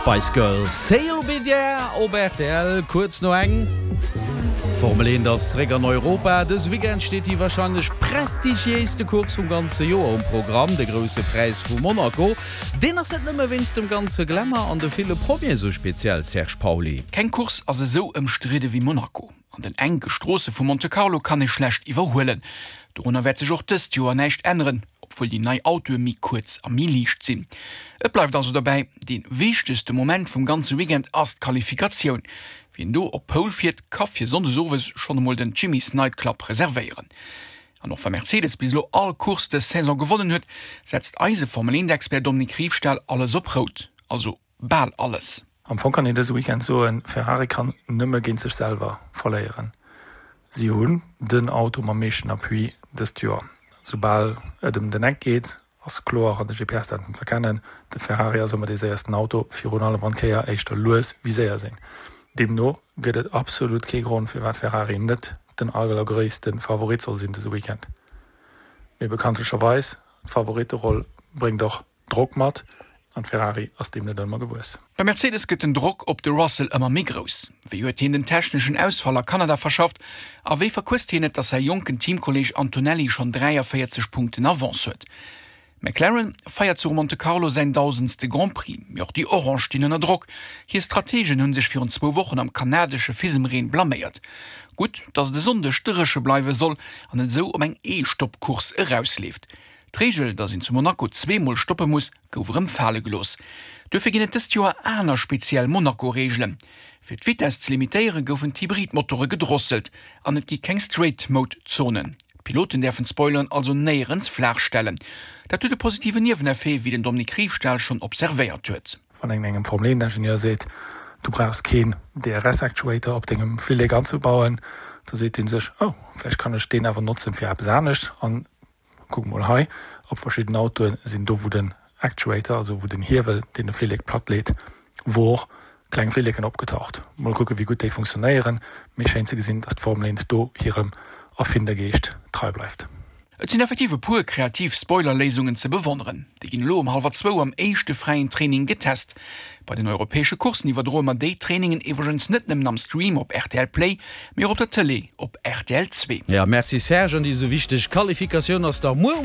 Spice Girls, Sail Be There op rtl, kuerz no eng. D'Formel 1 ass zeréck an Europa. Dëse Weekend steet déi warscheinlech prestigiéiste Course vum ganze Joer um Programm, de Grousse Präis vu Monaco. Deen ass net nëmme wéinst dem ganze Glamour an de ville Promie sou speziell, Serge Pauly. Keng Course ass esou ëmstridde wéi Monaco. An den enke Stroosse vu Monte Carlo kann ee schlecht iwwerhuelen. Dorunner wäert sech och dëst Joer näischt änneren, obwuel déi nei Autoe méi kuerz a méi liicht sinn. Et bleift also dobäi, dee wichtegste Moment vum ganze Weekend ass d'Qualifikatioun. Wien do op Pole fiert, ka fir Sonndes owes schonn emol den Jimmy's Night Club reservéieren. An och wa Mercedes bis elo all Course dës Saison gewonnen huet, setzt eise Formel 1 Expert Dominique Riefstahl alles op Rout. Also Bal alles. Am Fong kann een dëse Weekend soen, Ferrari kann nëmme géint sech selwer verléieren. Si hunn den Auto mam meeschten Appui dëst Joer. Soubal et ëm den Eck geet, ass kloer an de GPS-Daten z'erkennen, de Ferrari ass ëmmer dee séiersten Auto, virun allem wann d'Kéier éischter lues wéi séier sinn. Deemno gëtt et absolut kee Grond, firwat Ferrari net den allergréisste Favorit soll sinn dëse Weekend. Mee bekanntlecherweis, d'Favoritteroll bréngt och Drock mat, an Ferrari ass deem net ëmmer gewuess. Bei Mercedes gëtt den Drock op de Russell ëmmer méi grouss. Wéi huet hien den techneschen Ausfall a Kanada verschafft a wéi verquësst hien et, datt säi jonken Teamkolleeg Antonelli schonn 43 Punkten Avance huet? McLaren feiert zu Monte Carlo säin dausendste Grand Prix, mee och déi Orange stinn ënner Drock. Hir Strategen hu sech virun zwou Wochen am kanadesche Fisemreen blaméiert. Gutt, datt et e Sonndeg dréche bleiwe soll an et esou op eng Ee-Stopp-Course erausleeft. D'Reegel, datt een zu Monaco zweemol stoppe muss, gouf erëm fale gelooss. Duerfir ginn et dëst Joer aner speziell Monaco-Reegelen. Fir d'Vitess ze limitéiere goufen d'Hybrid-Motore gedrosselt an et gi keng Straight-Mode-Zonen. D'Piloten däerfen d'Spoileren also néierens flaach stellen. Dat huet e positiven Nieweneffet, wéi den Dominique Riefstahl schonn observéiert huet. Wann een engem Formel-Eent-Ingenieur seet, du brauchs keen DRS-Actuator op dengem Flillek anzebauen, da seet dee sech, oh, vläicht kann ech deen awer notzen fir eppes anescht. An Kuck mol hei, op verschidden Autoen sinn do wou den Actuator, also wou den Hiewel deen de Flillek platt leet, wor, kleng Flilleken opgetaucht. Mol kucken wéi gutt déi funktionéieren, mee schéin ze gesinn dass d'Formel 1 do hirem Erfindergeescht trei bleift. Et sinn effektiv e puer kreativ Spoiler-Léisungen ze bewonneren. Déi ginn elo um hallwer zwou am éischte fräien Training getest. Bei den europäesche Courssen iwwerdroe mer déi Trainingen iwwregens net nëmmen am Stream op rtl Play, mee och op der Tëlee op rtl 2. Jo, merci Serge. An déi esou wichteg Qualifikatioun ass da muer.